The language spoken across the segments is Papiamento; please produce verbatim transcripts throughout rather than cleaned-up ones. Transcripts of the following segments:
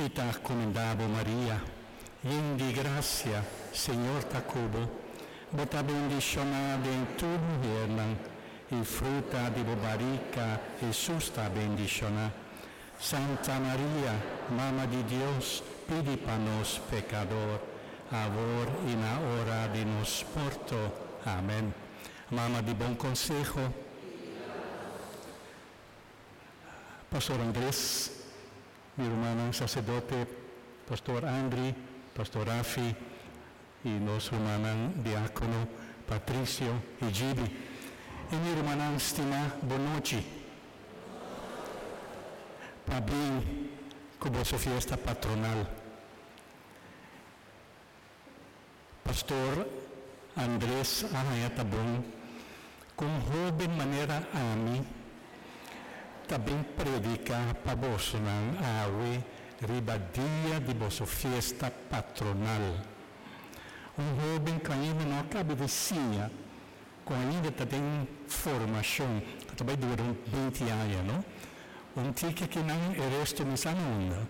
Mi ta kumindá bo, Maria, yen di grasia, Señor ta ku bo. Bo ta bendishoná den tur muhénan, i fruta di bo barika, Hesus, ta bendishoná. Santa Maria, Mama di Dios, pidi pa nos pekadó, awor i na ora di nos morto. Amèn. Mama di Bon Konseho. Pastor Andrés, mi ruman saserdote, Pastor Andri, Pastor Rafi i nos ruman diákono Patricio i Gibi. I mi ruman stimá, bon nochi. Pabien ku boso fiesta patronal. Pastor Andrés a haña ta bon ku hóben manera ami tambe prediká pa bosonan awe riba dia di boso fiesta patronal. Un hóben ku ainda no a kaba di siña, ku ainda ta den formashon, ku tambe ta dura binti aña, no? Un tiki ku no, e resto mi sa unda.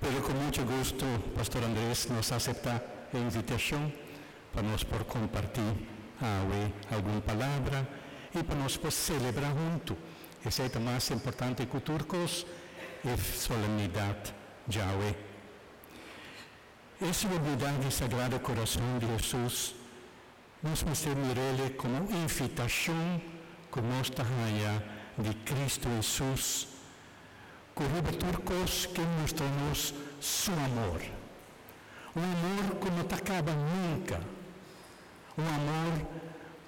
Pero ku mucho gusto, Pastor Andrés nos a aseptá e invitashon pa nos por kompartí awe algun palabra i pa nos por selebrá huntu. Esei ta mas importante ku tur kos, e solemnidat djawe. E solemnidat di Sagrado Kurason di Hesus, nos mester mir'é komo invitashon ku nos ta haña di Kristu Hesus, ku riba tur kos ke mustra nos su amor. Un amor ku no ta kaba nunka. Un amor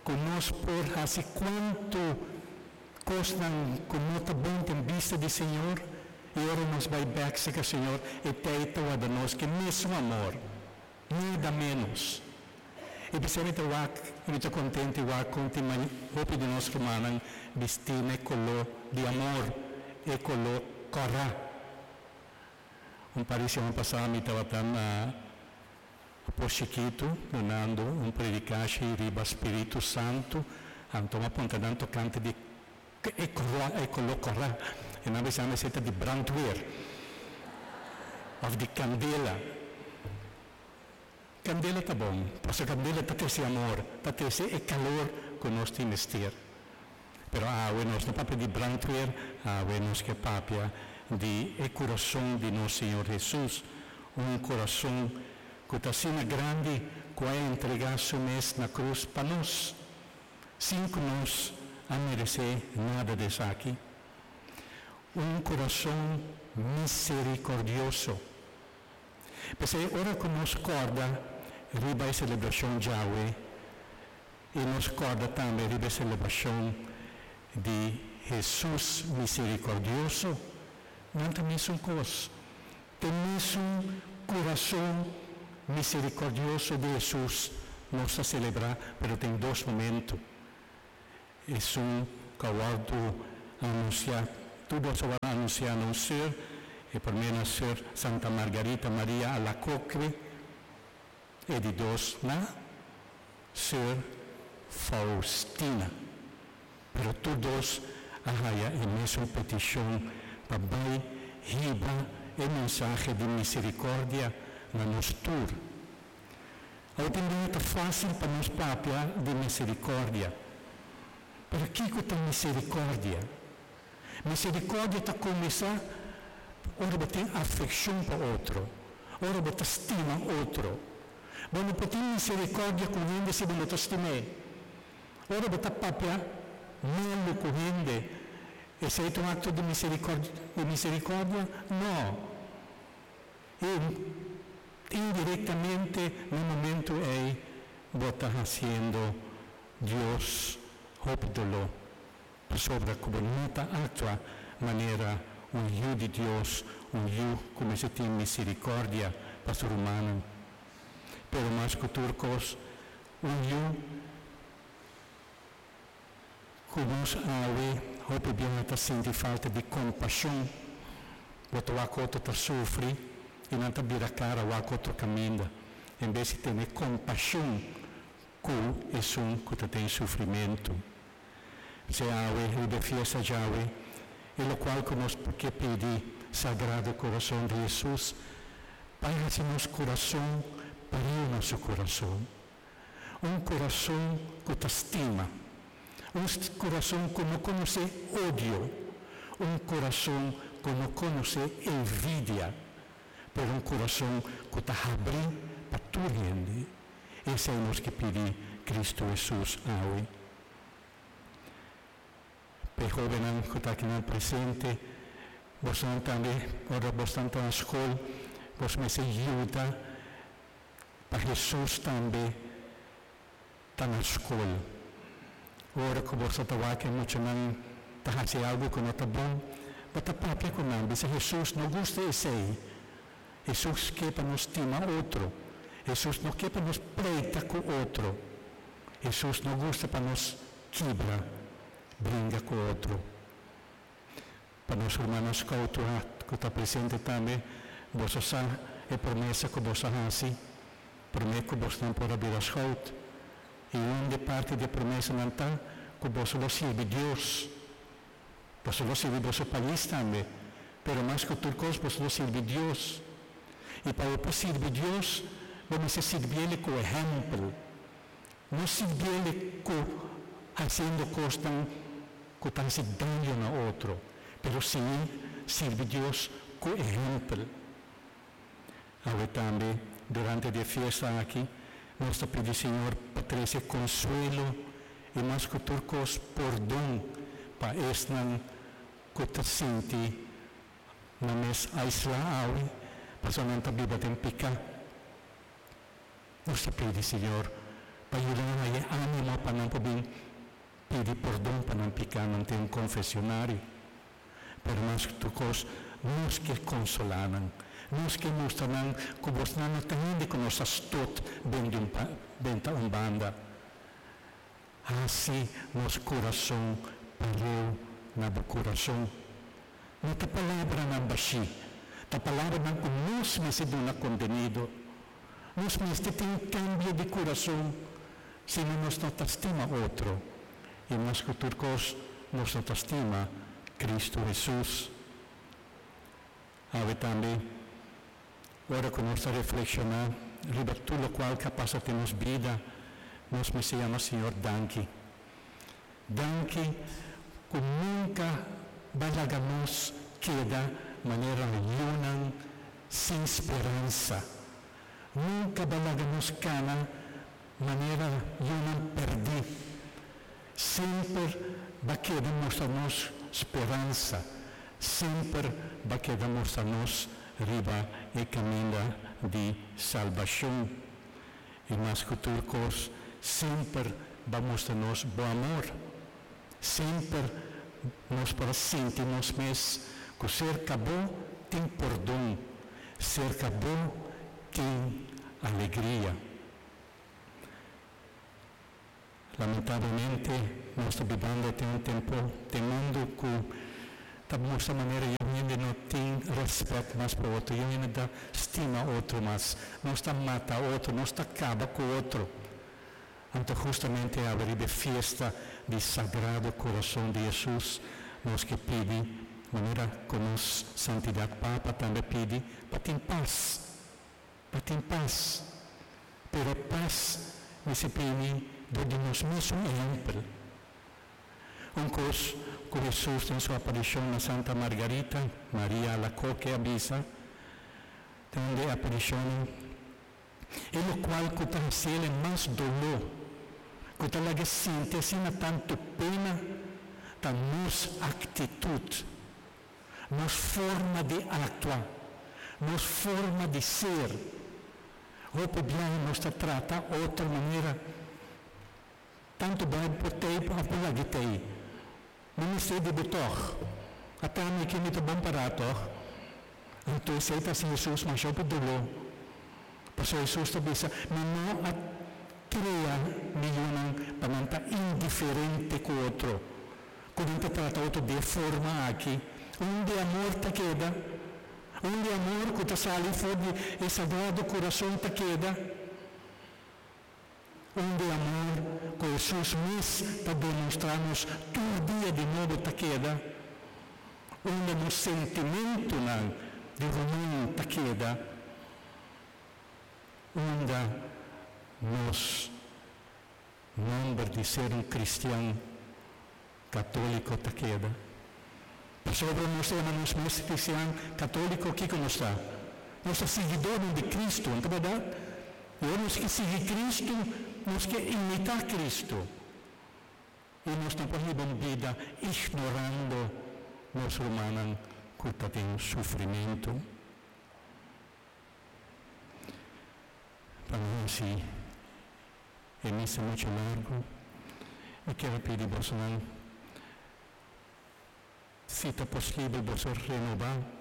ku nos por hasi kuantu kosnan ku no ta bon den bista di Señor, i ora nos bai bèk serka Señor, e ta warda nos ku mesun amor, nada ménos. I p'esei ta wak, mi ta kontentu wak kon tin hopi di nos rumannan bistí na koló di amor, e koló kòrá. Un par di siman pasá mi tabata na Pos Chikitu, dunando un predikashi riba Spiritu Santu, anto m'a puntra nan tokante di e koló, e koló kòrá. I nan a bisa mi di brandweer, òf di kandela. Kandela ta bon, pasobra kandela ta trese amor, ta trese e kalor ku nos tin mester. Pero awe nos no papia di brandweer, awe nos ke papia di e kurason di nos Señor Hesus, un kurason ku ta asina grandi ku a entregá su mes na krus pa nos, sin ku nos a meresé nada di esaki. Un kurason miserikordioso. P'esei ora ku nos kòrda riba e selebrashon djawe, i nos kòrda tambe riba e selebrashon di Hesus miserikordioso, nan ta mesun kos. Ta mesun kurason miserikordioso di Hesus nos ta selebrá, pero tin dos momento. Esun ku a wòrdu anunsiá, tur dos a wòrdu anunsiá na un sùr, e promé na sùr Santa Margarita Maria Alacoque, e di dos na sùr Faustina. Pero tur dos a haña e mesun petishon pa bai hiba e mensahe di miserikòrdia na nos tur. Awor tambe ta fásil pa nos papia di miserikòrdia. Pero kiko ta miserikòrdia? Miserikòrdia ta kuminsá ora bo tin afekshon pa otro, ora bo ta stima otro. Bo no por tin miserikòrdia ku hende si bo no ta stim'é. Ora bo ta papia malu ku hende, esei ta un akto di miserikòrdia? Di miserikòrdia? No. I indirektamente na e momento ei bo ta hasiendo Dios hopi doló pasobra ku bo no ta aktua manera un yu di Dios, un yu ku mester tin miserikòrdia pa su rumannan. Pero mas ku tur kos, un yu ku nos awe hopi biaha ta sinti falta di kompashon, bo ta wak otro ta sufri i nan ta bira kara wak otro kaminda, en bes di tene kompashon ku esun ku ta den sufrimentu. P'esei awe riba e fiesta djawe, E lokual ku nos ke pidi Sagrado Kurason di Hesus, pa hasi nos kurason pareu na su kurason. Un kurason ku ta stima. Un kurason ku no konosé odio. Un kurason ku no konosé envidia. Pero un kurason ku ta habrí pa tur hende. Esei nos ke pidi Kristu Hesus awe. Pa e hóbennan ku ta akinan presente, boso tambe, ora boso ta na skol, boso mester yuda pa Hesus tambe ta na skol. Ora ku boso ta wak ku muchanan ta hasi algu ku no ta bon, bo ta papia ku nan, bisa Hesus no gusta esei. Hesus ke pa nos stima otro. Hesus no ke pa nos pleita ku otro. Hesus no gusta pa nos kibra, bringa ku otro. Pa nos rumannan scout ku ta presente tambe, boso sa e promesa ku boso a hasi, promé ku boso nan por a bira scout. I un di parti di e promesanan ta ku boso lo sirbi Dios. Boso lo sirbi boso pais tambe, pero mas ku tur kos boso lo sirbi Dios. I pa bo por sirbi Dios, bo mester sirbié ku ehèmpel. No sirbié ku hasiendo kosnan ku ta hasi daño na otro, pero sí sirbi Dios ku ehèmpel. Awe tambe, durante e fiesta aki, nos ta pidi Señor pa trese konsuelo i mas ku tur kos pordon pa esnan ku ta sinti nan mes aislá awe, pasobra nan ta biba den piká. Nos ta pidi Señor pa yuda nan haña ánimo pa nan por bin pidi pordon pa nan piká, nan tin un konfeshonario. Pero mas ku tur kos, nos ke konsolá nan. Nos ke mustra nan ku boso no ta hende ku nos a stot benta un banda. Hasi nos kurason pareu na bo kurason. No ta palabranan bashí, ta palabranan ku nos mester duna kontenido. Nos mester tin un kambio di kurason, sino nos no ta stima otro. I mas ku tur kos, nos no ta stima Kristu Hesus. Awe tambe, ora ku nos ta reflekshoná riba tur lokual ku a pasa den nos bida, nos mester yama Señor danki. Danki ku nunka bo a laga nos keda manera yunan sin speransa. Nunka bo a laga nos kana manera yunan pèrdí. Semper bo a keda mustra nos speransa. Semper bo a keda mustra nos riba e kaminda di salbashon. I mas ku tur kos, semper bo a mustra nos bo amor. Semper nos por a sinti nos mes ku serka bo tin pordon, serka bo tin alegria. Lamentablemente, nos ta bibando den un tempu, den mundu ku ta mustra manera hende no tin rèspèt mas pa otro, hende no ta stima otro mas, nos ta mata otro, nos ta kaba ku otro. Anto hustamente awe riba fiesta di Sagrado Kurason di Hesus, nos ke pidi, manera ku nos Santidat Papa tambe pidi, pa tin pas, pa tin pas. Pero pas mester bini dor di nos mes ehèmpel. Un kos ku Hesus den su aparishon na Santa Margarita, Maria Alacoque a bisa, den e aparishon, e lokual ku ta hasié mas doló, ku ta laga sinti asina tantu pena, ta nos aktitut, nos forma di aktua, nos forma di ser. Hopi biaha nos ta trata otro manera. Tantu bai por t'ei òf por lag'é t'ei. No mester di bo tòg. Ata mi aki mi ta bon pará tòg. Anto esei ta hasi Hesus masha hopi doló. Pasobra Hesus ta bisa, Mi no a krea mi yunan pa nan ta indiferente ku otro, ku nan ta trata otro di e forma aki. Unda e amor ta keda? Unda e amor ku ta sali for di e Sagrado Kurason ta keda? Unda e amor ku Hesus mes ta demostrá nos tur dia di nobo ta keda? Unda nos sentimentonan di ruman ta keda? Unda nos nomber di ser un cristian catolico ta keda? Pasobra nos ta yama nos mes cristian catolico, kico nos ta? Nos ta siguidornan di Cristo, no ta berdad? Y ora nos ke sigui Cristo, nos ke imita Cristo. Y nos no por hiba un bida ignorando nos rumannan cu ta den sufrimento. Pa no haci e misa mucho largo, mi kier a pidi bosonan, si ta posibel boso renoba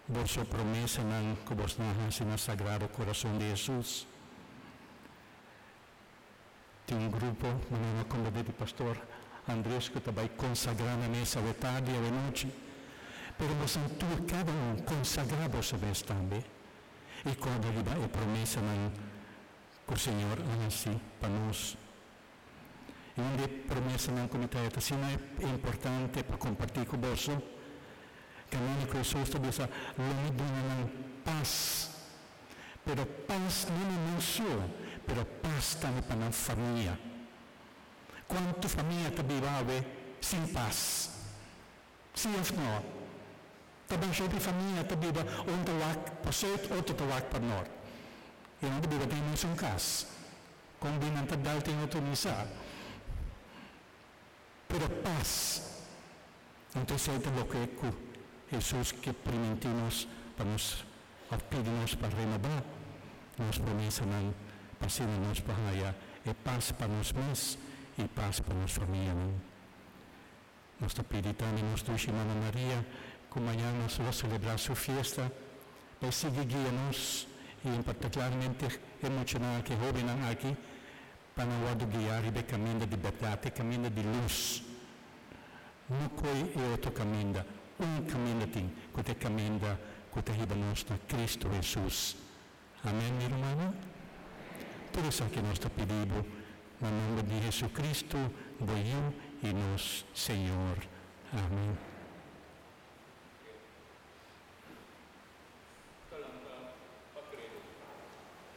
boso promesanan cu bosonan a haci na Sagrado Corazon di Jesus. Tin un grupo, manera mi a komprendé di pastor Andres, ku ta bai konsagrá nan mes awe tardi, awe nochi. Pero boso tur kada un konsagrá boso mes tambe i kòrda riba e promesanan ku Señor a hasi pa nos. I un di e promesanan ku mi ta haya ta asina importante pa kompartí ku boso, kaminda ku Hesus ta bisa, Lo mi duna nan pas. Pero pas no na nan so, pero pas tambe pa nan famia. Cuanto famia ta biba awe sin pas? Si of no? Ta basha hopi famia ta biba un ta wak pa zuid, otro ta wak pa nort. Y nan ta biba den e mesun cas. Con bin nan ta dal den otro mi sa. Pero pas. Anto esei ta loke ku Hesus ke primintí nos pa nos òf pidi nos pa renobá nos promesanan pa asina nos por haya e pas pa nos mes i pas pa nos famianan. Nos ta pidi tambe nos dushi Mama Maria ku mañan nos lo selebrá su fiesta pa e sigui guia nos i en partikularmente e muchanan aki, e hóbennan aki, Pa nan wòrdu guiá riba e kaminda di bèrdat, e kaminda di lus. No koi e otro kaminda. Un kaminda tin, ku ta e kaminda ku ta hiba nos na Kristu Hesus. Amèn, mi rumannan? Tur esaki nos ta pidi bo na nòmber di Hesukristu, bo Yu i nos Señor. Amèn.